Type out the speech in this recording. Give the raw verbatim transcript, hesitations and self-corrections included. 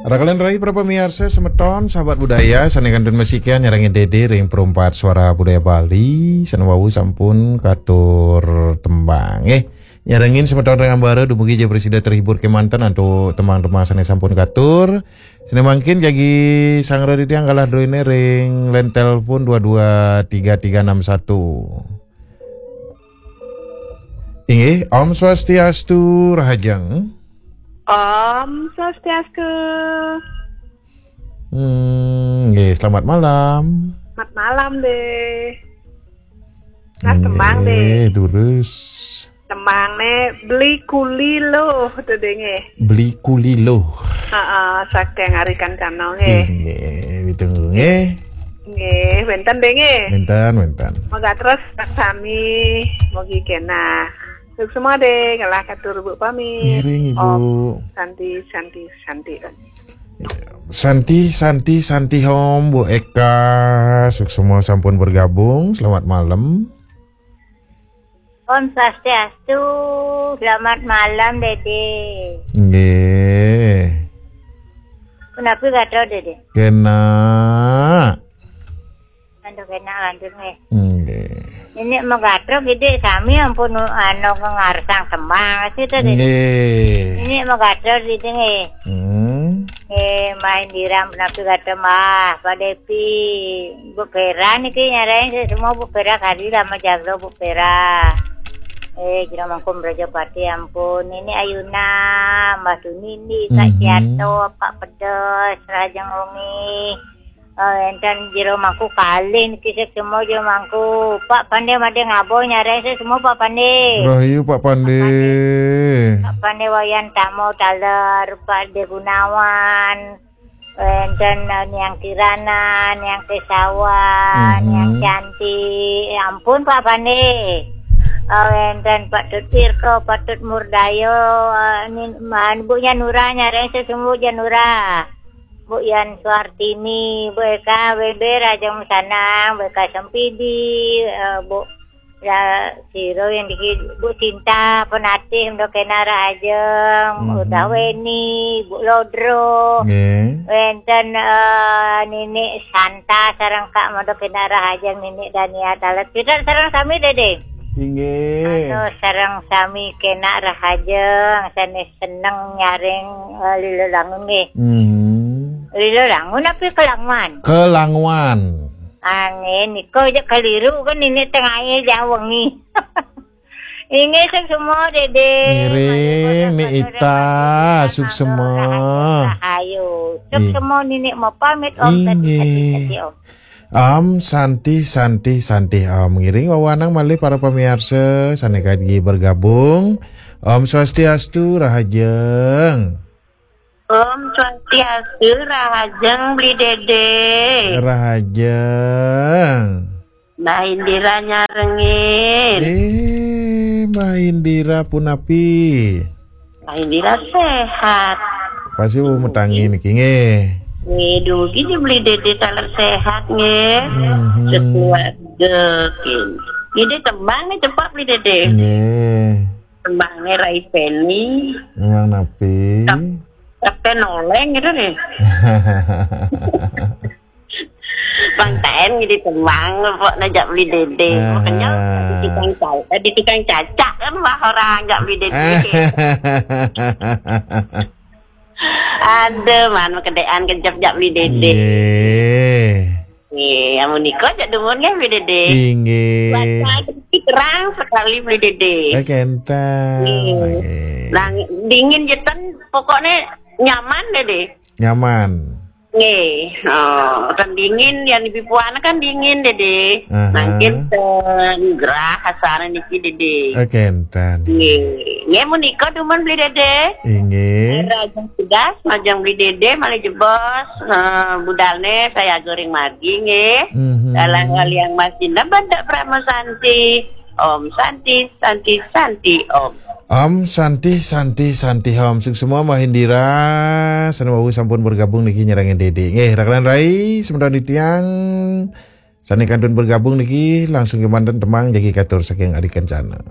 Raka lan rai para pamiarsa semeton, sahabat budaya, sane kantun masikian nyarengin Dede ring Perumpat Suara Budaya Bali, sane wau sampun katur tembang. Eh, nyarengin semeton ring ambara dumugi ja prasida terhibur kemanten antuk tembang-tembang sane sampun katur. Sane mangkin jagi sangra titiang galah druene ring len telepon dua dua tiga tiga enam satu. Inggih, Om Swastiastu, Rahajeng. Om Swastiastu. Hmm, nggih, selamat malam. Selamat malam, Deh. Nah, tembang, Deh. Nggih, durus. Tembang ne Beli Kuli Loh, to, Deh, nggih. Beli Kuli Loh. Heeh, saking Ari Kencana, nggih. Inggih, ditunggu, nggih. Nggih, wenten, Deh, nggih. Wenten, wenten. Moga terus sami, mugi kenah. Suksma, Deh, ngelah katur Bu pamit. Ngiring, Ibu. Om Santi, Santi, Santi. Santi, Santi, Santi Om, Bu Eka, suksma sampun bergabung. Selamat malam. Om Swastiastu, selamat malam, Dede. Nggih. Punapi gatra, Dede? Kena. Aduh, kena lantur, nggih. Nggih. Ini magatra gede sami ampun anu ngarsang semang sih tadi. Nggih. Ini magatra gede, nggih. Hmm. Nggih, main dirang punapi gatra, Mbah, Pak Depi. Bu Pera niki nyarain saya semua Bu Pera kali lama jaglo Bu Pera. Eh, jero mangkum Prajapati ampun. Ini Ayuna, Mbah Sunindi, Kak Mhm. Ciato, Pak Pedes, Rajeng Umi. Eh, enten jero mangku kalih niki sik semua jero mangku. Pak Pande made ngabo nyareng sik semua Pak Pande. Rahayu Pak Pande. Pak Pande Wayan Tamo taler, Pak De Gunawan. Enten, eh, Niang Kirana, Niang Kesawan, Mhm. Niang Cantik. Ya ampun, Pak Pande. Eh, enten Pak Tut Irko, Pak Tut Murdayo, eh, ni, man, Bu Nyanura, nyareng sesungguh Janura. Bu Yan Suartini, Bu Eka Weber, Ajeng Musanang, Bu Eka Sempidi, eh, Bu Ya, sira yang diki Bu Sinta, Penatih, Ndo Kena Rahajeng, Hmm. Udah Weni, Bu Lodro. Nggih. Wenten, eh, Ninik Santa sareng Kak Mondo Kena Rahajeng, Ninik Dania Talet. Kita sareng sami, Dede. Inggih. Anu, sareng sami Kena Rahajeng, sanes seneng nyaring, eh, Lilo Langun nggih. Hmm. Lilo Langun apa Kelanguan? Kelanguan. Angin, niko aja keliru kan ini tengahnya jauh wengi. Ini sing semua, Dede. Ngiring, Ni Ita, suksema. Ayo, Ih. Suksema Ninik mau pamit, Om. Tadi, Inggih. Tadi, tadi, Om. Om Santi, Santi, Santi, Om. Ngiring wawanang malih para pamiarsa, sane kagi bergabung. Om Swastiastu, Rahajeng. Om Swastiastu, Rahajeng Beli Dede. Rahajeng. Mbah Indira nyarengin. Eh, Mbah Indira punapi? Mbah Indira sehat. Pasti bu metangi niki nggih. Nggih, dugi di Beli Dede taler sehat nggih. Mhm. Sekeluarga kin. Ini tembang nih cepat Beli Dede. Nggih. Tembangnya Rai Peni. Memang napi? Tep-, tepen oleng gitu nih. Bang Taen jadi tembang, pokoknya jak Beli Dede. Aha. Makanya di tukang ca-, eh, di tukang cacak kan wah orang jak Beli Dede. Ada man kedean kejap jak Beli Dede. Nggih. Nggih, amun nika jak dumun nggih Beli Dede. Inggih. Cuaca terang sekali Beli Dede. Eh, kenten. Nggih. Nggih. Nah, dingin jeten pokoknya nyaman, Dede. Nyaman. Nggih. Oh, kan dingin, yang di Pipuan kan dingin, Dede. Aha. Mangkin ten gerah asana niki, Dede. Eh, kenten. Nggih. Nggih, menika dumun Beli Dede. Inggih. Rahajeng tugas, majeng Beli Dede, malih jebos, eh, budalne saya goreng margi, nggih. Mhm. Dalam kaliang masih nebat dak Prama Santi. Om Santi, Santi, Santi, Om. Om Santi, Santi, Santi, Om. Suksma Mbah Indira, sane wau sampun bergabung niki nyerangin Dede. Nggih, raka lan rai, semeton titiang, sane kantun bergabung niki langsung kemanten tembang jagi katur saking Ari Kencana.